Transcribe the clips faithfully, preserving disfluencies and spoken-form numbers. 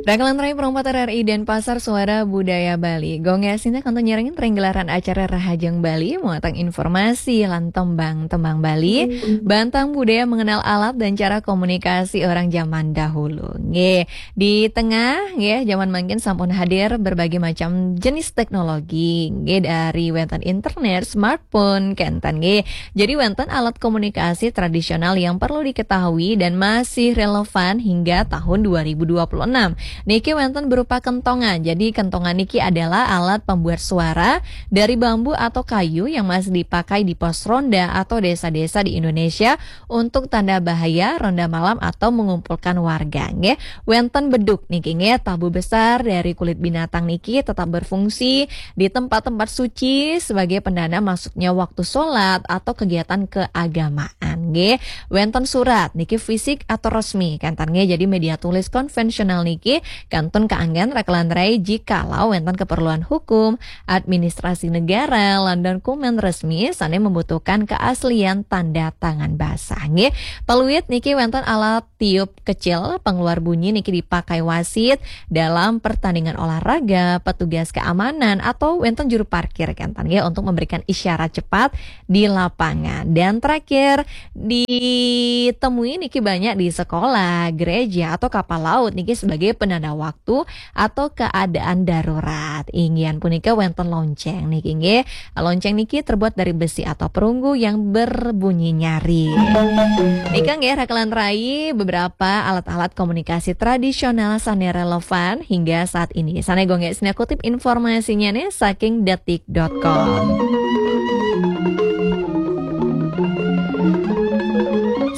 Rakalan rai perempat R R I Denpasar, Suara Budaya Bali. Gonggong sinta kantun nyarengin ring gelaran acara Rahajeng Bali, muatan informasi lan tembang-tembang Bali, bantang budaya mengenal alat dan cara komunikasi orang zaman dahulu. Nggih, di tengah nggih zaman mangkin sampun hadir berbagai macam jenis teknologi, nggih, dari wenten internet, smartphone, kenten nggih. Jadi wenten alat komunikasi tradisional yang perlu diketahui dan masih relevan hingga tahun dua ribu dua puluh enam. Niki wenten berupa kentongan. Jadi kentongan niki adalah alat pembuat suara dari bambu atau kayu yang masih dipakai di pos ronda atau desa-desa di Indonesia untuk tanda bahaya, ronda malam atau mengumpulkan warga nggih. Wenten beduk niki nggih, tabu besar dari kulit binatang niki tetap berfungsi di tempat-tempat suci sebagai pendana masuknya waktu sholat atau kegiatan keagamaan nggih. Wenten surat niki fisik atau resmi kenten nggih, jadi media tulis konvensional niki kantun kaanggen rakalan rai jikalau wenten keperluan hukum, administrasi negara, lan dokumen resmi sane membutuhkan keaslian tanda tangan basah nggih. Peluit niki wenten alat tiup kecil pengeluar bunyi niki dipakai wasit dalam pertandingan olahraga, petugas keamanan, atau wenten juru parkir kenten nggih, untuk memberikan isyarat cepat di lapangan. Dan terakhir, ditemui niki banyak di sekolah, gereja, atau kapal laut niki sebagai penanda waktu atau keadaan darurat. Inggian punika wenten lonceng niki nggih. Lonceng niki terbuat dari besi atau perunggu yang berbunyi nyaring. Nika nggih rakalan rai beberapa alat-alat komunikasi tradisional sane relevan hingga saat ini. Sane gonggong sinta kutip informasinya nih saking detik dot com.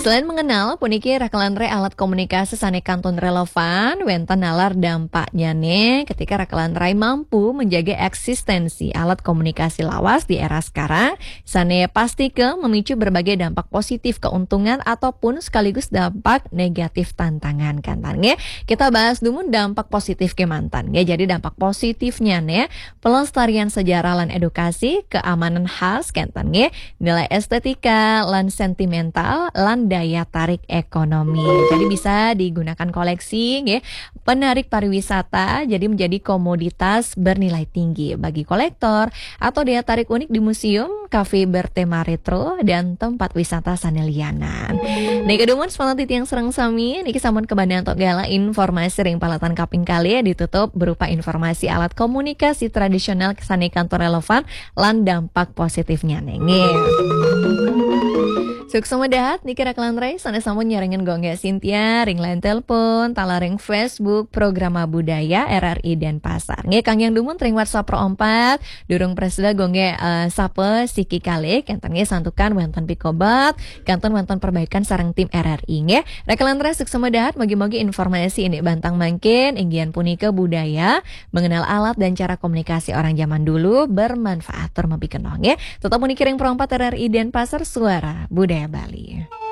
Selain mengenal, puniki rakalan rai alat komunikasi sane kantun relevan, wenten nalar dampaknya nih ketika rakalan rai mampu menjaga eksistensi alat komunikasi lawas di era sekarang, sane pasti ke memicu berbagai dampak positif keuntungan ataupun sekaligus dampak negatif tantangan kenten nggih. Kita bahas dulu dampak positif kemanten nggih. Jadi dampak positifnya nih, pelestarian sejarah lan edukasi, keamanan khas kenten nggih, nilai estetika lan sentimental, lan daya tarik ekonomi. Jadi bisa digunakan koleksi nggih, penarik pariwisata, jadi menjadi komoditas bernilai tinggi bagi kolektor atau daya tarik unik di museum, kafe bertema retro, dan tempat wisata sane lianan. Nika dumun semanten titiang sareng sami, niki sampun kabanten antuk galah informasi ring paletan kaping kalih, ditutup berupa informasi alat komunikasi tradisional sane kantun relevan lan dampak positifnya nggih. Suksma dahat niki rakalan rai sane sampun nyarengin gonggong sinta ring line telepon, taler ring Facebook Programa Budaya R R I Denpasar. Nggih, kangge dumun ring WhatsApp Pro empat, durung prasida gonggong, eh, sapa siki kalih, kenten nggih santukan wenten pikobat, kantun wenten perbaikan sareng tim R R I nggih. Rakalan rai suksma dahat, mugi-mugi informasi indik bantang mangkin, inggian punika budaya, mengenal alat dan cara komunikasi orang zaman dulu bermanfaat tur mapikenoh nggih. Tetep puniki ring Pro empat R R I Denpasar, Suara Budaya Bali.